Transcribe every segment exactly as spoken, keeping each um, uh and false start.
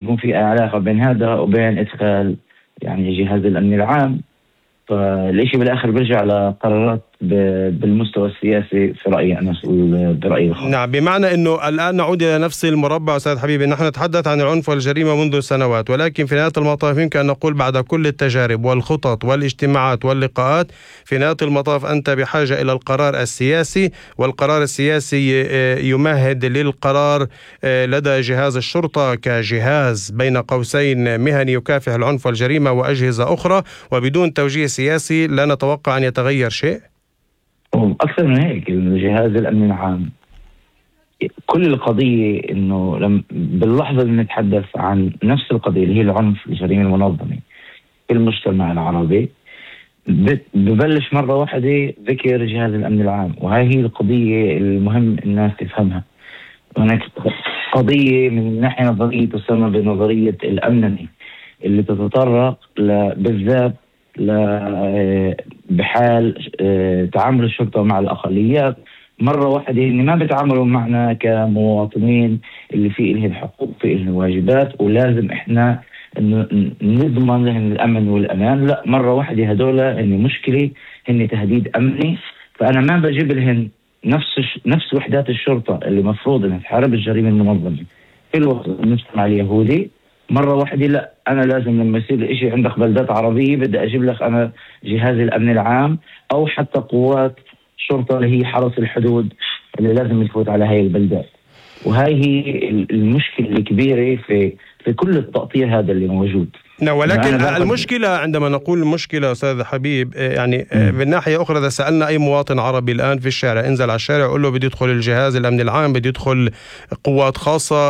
يكون في علاقة بين هذا وبين إدخال يعني جهاز الأمن العام. فالإشي بالآخر بيرجع لقرارات بالمستوى السياسي في رأيي أنا برأيي الخاص. نعم، بمعنى أنه الآن نعود إلى نفس المربع أستاذ حبيبي. نحن نتحدث عن العنف والجريمة منذ سنوات، ولكن في نهاية المطاف يمكن أن نقول بعد كل التجارب والخطط والاجتماعات واللقاءات، في نهاية المطاف أنت بحاجة إلى القرار السياسي، والقرار السياسي يمهد للقرار لدى جهاز الشرطة كجهاز بين قوسين مهني يكافح العنف والجريمة وأجهزة أخرى، وبدون توجيه سياسي لا نتوقع أن يتغير شيء. أكثر من هيك، جهاز الأمن العام كل القضية إنه لم باللحظة اللي نتحدث عن نفس القضية اللي هي العنف الجريمة المنظمة في المجتمع العربي، ببلش مرة واحدة ذكر جهاز الأمن العام. وهي هي القضية المهم الناس تفهمها. هناك قضية من ناحية نظرية تسمى بنظرية الأمنني اللي تتطرق بالذات بحال تعامل الشرطة مع الأقليات مرة واحدة إن ما بيتعاملوا معنا كمواطنين اللي فيه إلهم الحقوق فيه إلهم الواجبات ولازم إحنا نضمن لهم الأمن والأمان. لا، مرة واحدة هدول إن مشكلة هن تهديد أمني، فأنا ما بجيب لهم نفس نفس وحدات الشرطة اللي مفروض إنها تحارب الجريمة المنظمة في الوسط المجتمع اليهودي. مرة واحدة لا، أنا لازم لما يصير الإشي عندك بلدات عربية بدي أجيب لك أنا جهاز الأمن العام أو حتى قوات شرطة اللي هي حرس الحدود اللي لازم يفوت على هاي البلدات. وهاي هي المشكلة الكبيرة في في كل التقطيع هذا اللي موجود. نعم، ولكن المشكلة عندما نقول المشكلة أستاذ حبيب يعني من ناحية أخرى، إذا سألنا أي مواطن عربي الآن في الشارع، انزل على الشارع قل له بدي يدخل الجهاز الأمن العام، بدي يدخل قوات خاصة،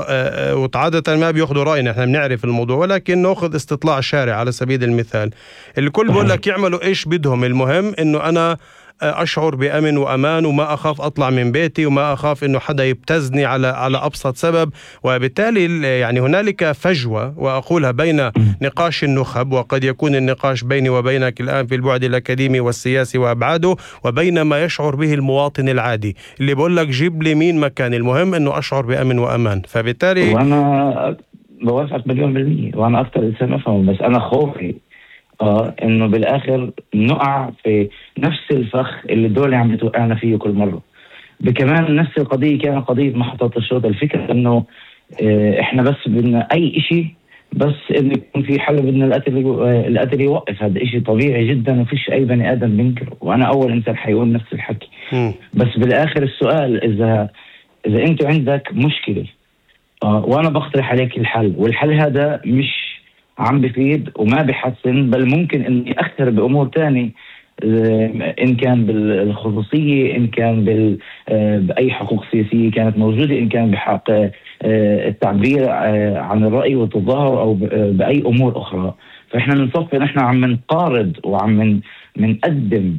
وعادة ما بيأخذوا رأينا، إحنا بنعرف الموضوع، ولكن نأخذ استطلاع شارع على سبيل المثال، الكل بقول لك يعملوا إيش بدهم، المهم إنه أنا أشعر بأمن وأمان وما أخاف أطلع من بيتي وما أخاف إنه حدا يبتزني على على أبسط سبب. وبالتالي يعني هنالك فجوة، وأقولها بين نقاش النخب، وقد يكون النقاش بيني وبينك الآن في البعد الأكاديمي والسياسي وأبعاده، وبين ما يشعر به المواطن العادي اللي بقول لك جيب لي مين مكان، المهم إنه أشعر بأمن وأمان. فبالتالي وأنا بوافقك مليون بالمية، وأنا أكثر إنسان أفهم، بس أنا خوفي آه إنه بالآخر نقع في نفس الفخ اللي الدولة عم توقعنا فيه كل مرة. بكمان نفس القضية كانت قضية محطة الشرطة. الفكرة إنه آه إحنا بس بدنا أي إشي بس إنه يكون في حل، بدنا القتل آه القتل يوقف. هذا إشي طبيعي جدا وفيش أي بني آدم بينكره، وأنا أول إنسان حيقول نفس الحكي. م. بس بالآخر السؤال إذا إذا أنت عندك مشكلة آه وأنا بقترح عليك الحل، والحل هذا مش عم بفيد وما بحسن، بل ممكن أن يأثر بأمور تانية، إن كان بالخصوصية، إن كان بأي حقوق سياسية كانت موجودة، إن كان بحق التعبير عن الرأي والتظاهر، أو بأي أمور أخرى. فإحنا بنصفي نحن عم نقارض وعم نقدم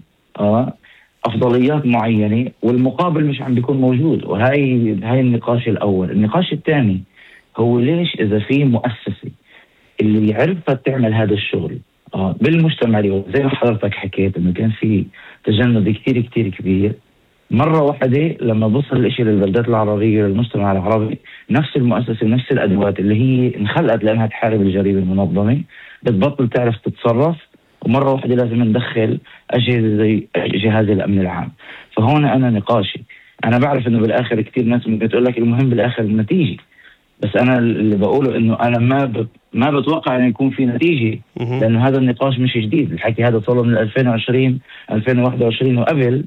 أفضليات معينة والمقابل مش عم بيكون موجود. وهاي هاي النقاش الأول. النقاش الثاني هو ليش إذا في مؤسسة اللي عرفت تعمل هذا الشغل آه بالمجتمع اليوم، زي ما حضرتك حكيت انه كان في تجند كتير كتير كبير، مرة واحدة لما بوصل الاشي للبلدات العربية للمجتمع العربي، نفس المؤسسة نفس الادوات اللي هي انخلقت لانها تحارب الجريمة المنظمة بتبطل تعرف تتصرف، ومرة واحدة لازم ندخل اجهزة زي جهاز الامن العام. فهون انا نقاشي، انا بعرف انه بالاخر كتير ناس ممكن تقول لك المهم بالاخر النتيجة، بس أنا اللي بقوله إنه أنا ما ب... ما بتوقع أن يكون في نتيجة، لأنه هذا النقاش مش جديد. الحكي هذا صار من ألفين وعشرين ألفين وواحد وعشرين وقبل،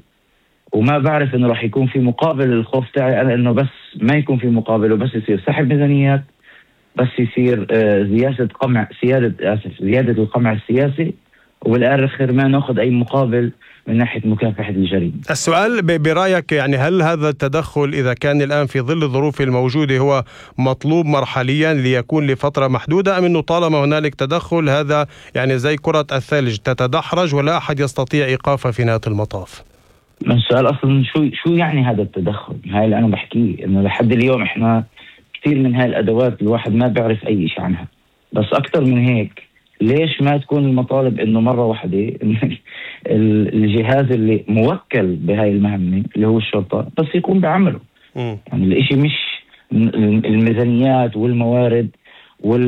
وما بعرف إنه راح يكون في مقابل. الخوف تاعي أنا إنه بس ما يكون في مقابل، وبس يصير سحب ميزانيات، بس يصير آه زيادة قمع سيادة آسف زيادة القمع السياسي، وبالآخر ما نأخذ أي مقابل من ناحية مكافحة الجريمة. السؤال برأيك يعني هل هذا التدخل إذا كان الآن في ظل الظروف الموجودة هو مطلوب مرحليا ليكون لفترة محدودة، أم أنه طالما هنالك تدخل هذا يعني زي كرة الثلج تتدحرج ولا أحد يستطيع إيقافها في نهاية المطاف؟ السؤال أصلا شو شو يعني هذا التدخل؟ هاي اللي أنا بحكيه، إنه لحد اليوم إحنا كثير من هاي الأدوات الواحد ما بيعرف أي شيء عنها. بس أكثر من هيك ليش ما تكون المطالب إنه مرة واحدة الجهاز اللي موكل بهاي المهمة اللي هو الشرطة بس يكون بعمله. يعني الإشي مش الميزانيات والموارد وال